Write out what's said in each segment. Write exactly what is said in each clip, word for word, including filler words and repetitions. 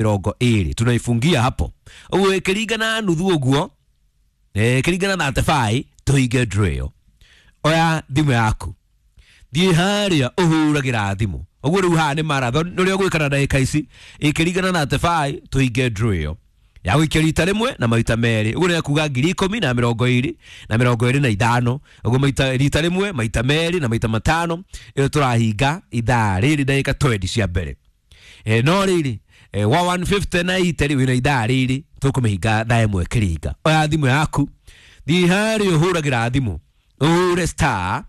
Mĩrongo ĩrĩ tunaifungia hapo. Ũguo ĩkĩringana nuthu ũguo, eh, ĩkĩringana na thirty-five tũhinge draw ĩyo. Oya thimũ yaku, thiĩ harĩa ũhũragĩra thimũ. Ũguo rĩu haha nĩ marathon ũrĩa ũgwĩka na ndagĩka ici. Ĩkĩringana na thirty-five tũhinge draw ĩyo ya gũikia rita rĩmwe na maita merĩ. Ũguo nĩ kuga ngiri ikũmi na mĩrongo ĩrĩ na mĩrongo ĩrĩ na ithano. Ũguo maita rita rĩmwe, maita merĩ na maita matano, ĩyo tũrahinga ithaa rĩrĩ ndagĩka twenty cia mbere. E, no rĩrĩ e, wa one fifty na eighty rĩ, wĩna ithaa rĩrĩ, tũkũmĩhinga thaa ĩmwe kĩringa. Oya thimũ yaku, thiĩ harĩa ũhũragĩra thimũ, ũhũre star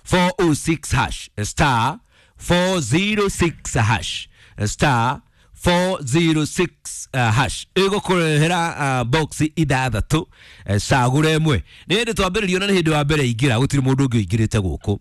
four oh six hash, star four oh six hash, star four oh six uh, hash. Ĩgũkũrehera uh, box ithathatũ, uh, cagũra ĩmwe. Nĩ hĩndĩ twambĩrĩrio na nĩ hĩndĩ wa mbere ingĩra, gũtirĩ mũndũ ũngĩ ũingĩrĩte gũkũ.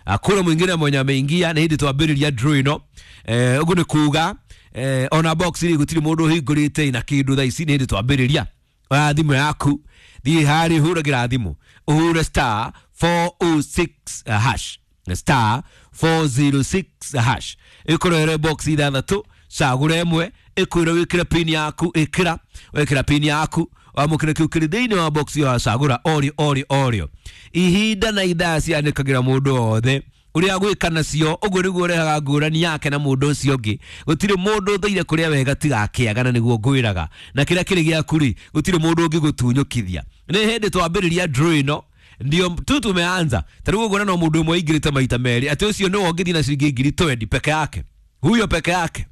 Hakuna mwingine mwenye ameingia, nĩ hĩndĩ twambĩrĩria draw ĩno. eh, ũguo nĩ kuga eh, ona box rĩ, gũtirĩ mũndũ ũhingũrĩte na kĩndũ thaa ici, nĩ hĩndĩ twambĩrĩria. Oya thimũ yaku, thiĩ harĩa ũhũragĩra thimũ, ũhũre star four oh six hash, star four oh six hash. Ĩkũrehere box ithathatũ, cagũra ĩmwe. Ĩkwĩra wĩkĩre pin yaku, ĩkĩra. Wekĩra pin yaku, wamũkĩre kĩu kĩrĩ thĩinĩ wa box ĩyo wacagũra orio orio orio. Ihinda na ithaa cianĩkagĩra mũndũ wothe ũrĩa gwĩka nacio. Ũguo nĩguo ũrehaga ngũrani yake na mũndũ ũcio ũngĩ. Gũtirĩ mũndũ ũthũire kũrĩa wega tiga akĩaga, na nĩguo ngwĩraga na kĩrĩa kĩrĩ gĩaku rĩ, gũtirĩ mũndũ ũngĩgũtunyũkithia. Nĩ hĩndĩ twambĩrĩria draw ĩno, ndio tu tumeanza. Ta rĩu ũguo no mũndũ ũmwe aingĩrĩte maita merĩ, atĩ ũcio nĩwe ũngĩthiĩ na ciringi ngiri twenty peke yake, huyo peke yake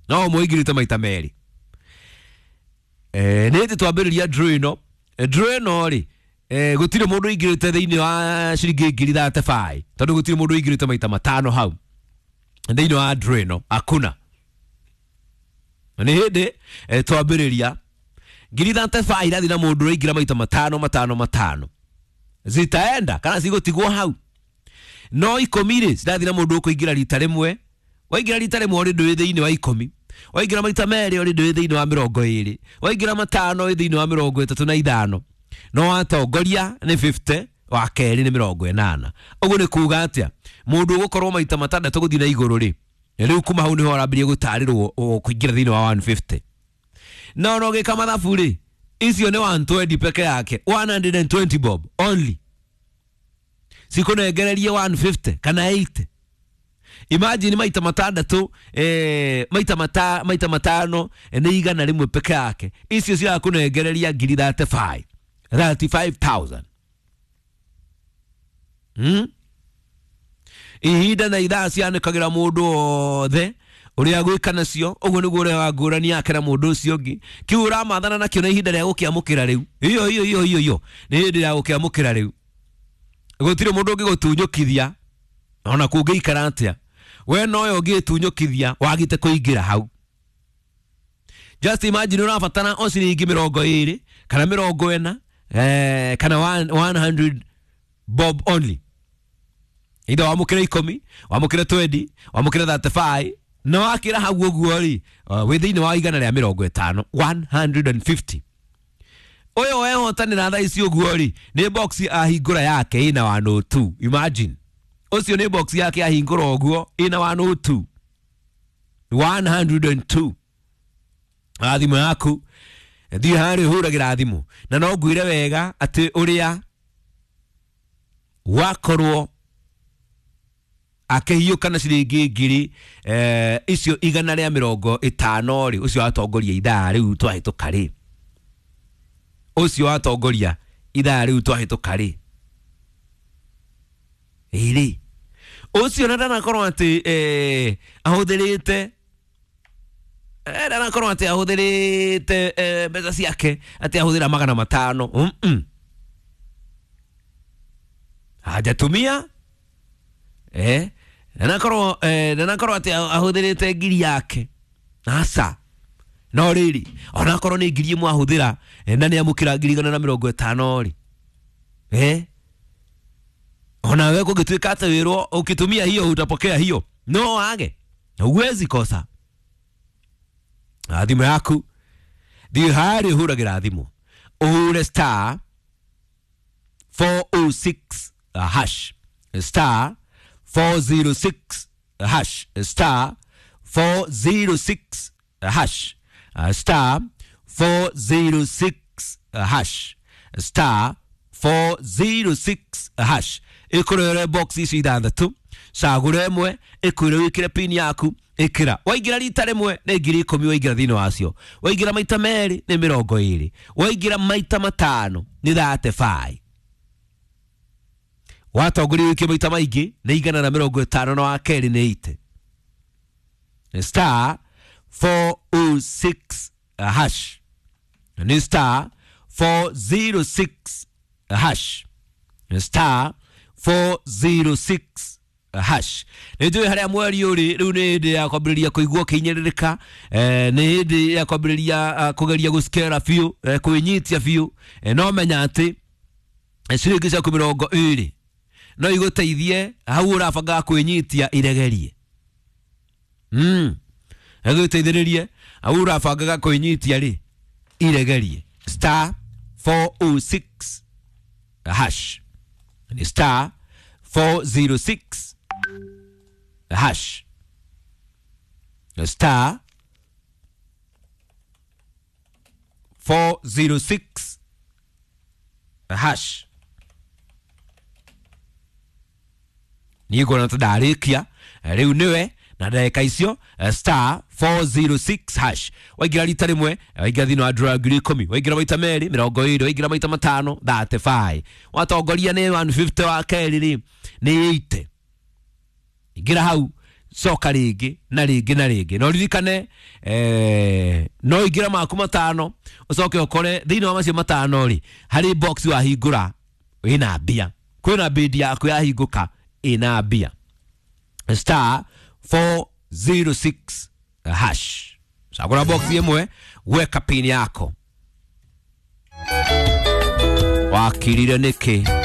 no ũmwe aingĩrĩte maita merĩ. eh, nĩ hĩndĩ twambĩrĩria draw ĩno. Draw ĩno rĩ, eh, gũtirĩ mũndũ ũingĩrĩte thĩinĩ wa ciringi ngiri thirty-five, tondũ gũtirĩ mũndũ ũingĩrĩte maita matano hau thĩinĩ wa draw ĩno, hakuna. Nĩ hĩndĩ eh, twambĩrĩria. Ngiri thirty-five irathiĩ na mũndũ ũraingĩra maita matano matano matano, zitaenda kana cigũtigwo hau. No ikũmi rĩ, cirathiĩ na mũndũ ũkũingĩra rita rĩmwe. Waingĩra rita rĩmwe, ũrĩ ndũĩ thĩinĩ wa ikũmi. Waingĩra maita merĩ, ũrĩ ndũĩ thĩinĩ wa mĩrongo ĩrĩ. Waingĩra matano, wĩ thĩinĩ wa mĩrongo ĩtatũ na ithano. No watongoria nĩ fifty, wa kerĩ nĩ mĩrongo ĩnana. Ũguo nĩ kuga atĩa? Mũndũ ũgũkorwo maita matandatũ gũthiĩ na igũrũ rĩ, rĩu kuma hau nĩho arambĩrĩria gũtarĩrwo kũingĩra thĩinĩ wa one fifty. Na ona ũgĩka mathabu rĩ, icio nĩ one twenty peke yake, one hundred twenty bob only cikũnengererie one fifty kana eighty. Imagine maita matandatũ, eh, maita mata, maita matano eh, nĩ igana rĩmwe peke yake. Icio cirakũnengereria ngiri thirty-five, thirty-five thousand, hmm? Ihinda na ithaa cianĩkagĩra mũndũ wothe ũrĩa gwĩka nacio. Ũguo nĩguo ũrĩa ngũrani yake na mũndũ ũcio ũngĩ. Kĩu ũramathana nakĩo na ihinda rĩa gũkĩamũkĩra rĩu, iyo iyo iyo iyo iyo nĩ hĩndĩ ya gũkĩamũkĩra rĩu. Gũtirĩ mũndũ ũngĩgũtunyũkithia ona kũngĩikara atĩa. We noyo ũngĩtunyũkithia wagĩte kũingĩra hau. Just imagine, ũrabatara o ciringi mĩrongo ĩrĩ kana mĩrongo ĩna, eh, kana one hundred bob only. Either wamũkĩre ikũmi, wamũkĩre twenty, wamũkĩre thirty-five, na wakĩra hau ũguo rĩ, uh, wĩ thĩinĩ wa igana rĩa mĩrongo ĩtano, one hundred fifty. Ũyũ wehotanĩra thaa ici ũguo rĩ, nĩ box ahingũra yake ĩna one oh two. Imagine, ũcio nĩ box yake ahingũra ũguo ĩna one oh two, one hundred two. Thimũ yaku, thiĩ harĩa ũhũragĩra thimũ. Na no ngwĩre wega atĩ ũrĩa wakorwo akĩhiũka na ciringi ngiri eh, icio igana rĩa mĩrongo ĩtano rĩ, ũcio watongoria ithaa rĩu twahĩtũka rĩ, ũcio watongoria ithaa rĩu twahĩtũka rĩ, ĩrĩ ũcio na ndanakorwo atĩ eh, ahũthĩrĩte eh, ndanakorwo atĩ ahũthĩrĩte eh, mbeca ciake atĩ ahũthĩra magana matano, mm -mm. Hajatumia eh ndanakorwo eh, ndanakorwo atĩ ahũthĩrĩte ngiri yake, aca. No rĩrĩ, onakorwo nĩ ngiri ĩmwe ahũthĩra, eh, na nĩ amũkĩra ngiri igana na mĩrongo ĩtano rĩ, eh onawe kũngĩtuĩka atĩ wĩrwo ũkĩtumia hiyo utapokea hiyo, no wage, huwezi kosa. Thimũ yaku, thiĩ harĩa ũhũragĩra thimũ, ũhũre star four oh six hash, star four oh six hash, star four zero six hash, star four zero six hash, star four zero six hash. Ĩkũrere box ici ithathatũ, cagũra ĩmwe, ĩkwĩre wĩkĩre pin yaku, ĩkĩra. Waingĩra rita rĩmwe nĩ ngiri ikũmi waingĩra thĩinĩ wacio, waingĩra maita merĩ nĩ mĩrongo ĩrĩ, waingĩra maita matano nĩ thate five, watongoria wĩkie maita maingĩ nĩ igana na mĩrongo ĩtano na wa kerĩ nĩ ite. Star four oh six hash, nĩ star four zero six hash, star four zero six hash. Nĩ njũĩ harĩa mweri ũrĩ rĩu nĩ hĩndĩ ya kwambĩrĩria kũigua ũkĩhinyĩrĩrĩka, eh, nĩ hĩndĩ ya kwambĩrĩria kũgeria gũcikera biũ, eh, kwĩnyitia biũ, eh, no menya atĩ ciringi ciaku mĩrongo ĩrĩ no igũteithie hau ũrabangaga kwĩnyitia iregerie. Mm. Ĩgũteithĩrĩrie hau ũrabangaga kwĩnyitia rĩ iregerie. Star four oh six hash, ni star four zero six hash, star four zero six hash. Niĩ nguona ta ndarĩkia rĩu nĩwe na ndagĩka icio. Star four zero six hash, waingĩra rita rĩmwe waingĩra thĩinĩ wa draw ngiri ikũmi, waingĩra maita merĩ mĩrongo ĩrĩ, waingĩra maita matano thirty five, watongoria nĩ one fifty, wa kerĩ rĩ nĩ eighty. Ingĩra hau coka rĩngĩ na rĩngĩ na rĩngĩ, no ririkane eh, no ingĩra maku matano ũcoke ũkore thĩinĩ wa macio matano rĩ harĩ box wahingũra ĩna mbia, kwĩna bid yaku yahingũka ĩna mbia. Star four zero six hash, cagũra box ĩmwe, weka pin yako. Wakirire nĩkĩ?